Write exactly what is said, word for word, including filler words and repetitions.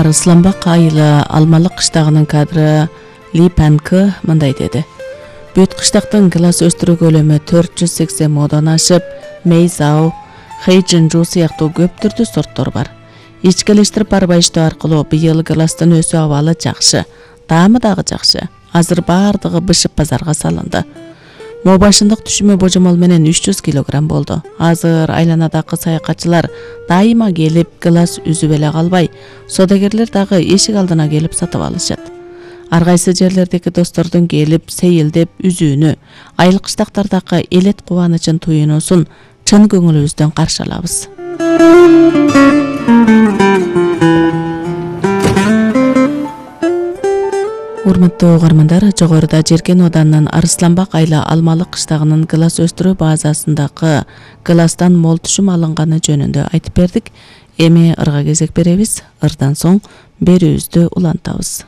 Арысланбак айылы Алмалык кыштагынын кадры Ли Панкы мындай деди. Бүт кыштактын класс өстүрүү көлөмү төрт жүз сексен модон ашып, Мейзау, Хэйжинжу сыяктуу көп түрдүү сорттор бар. Ичкилештирип барбайыштоо аркылуу быйыл класстын өсүү абалы жакшы, даамы дагы жакшы. Азыр баардыгы бышып базарга салынды. Мо башындык түшүмү божомол менен үч жүз килограмм болду. Азыр айланадагы саякатчылар дайыма келип класс үзүп эле калбай, содагерлер дагы эшик алдына келип сатып алышат. Ар кайсы жерлердеги достордун келип сейилдеп үзүүнү, айыл кыштактардагы элет кубанычын туюнуусун чын көңүлүбүздөн каршы алабыз. Урматтуу угармандар, жогоруда Жеркен Оданынын Арысланбак айылы Алмалык кыштагынын класс өстүрүү базасындагы класстан мол түшүм алынганы жөнүндө айтып бердик. Эми ырга кезек беребиз. Ырдан соң берүүбүздү улантабыз.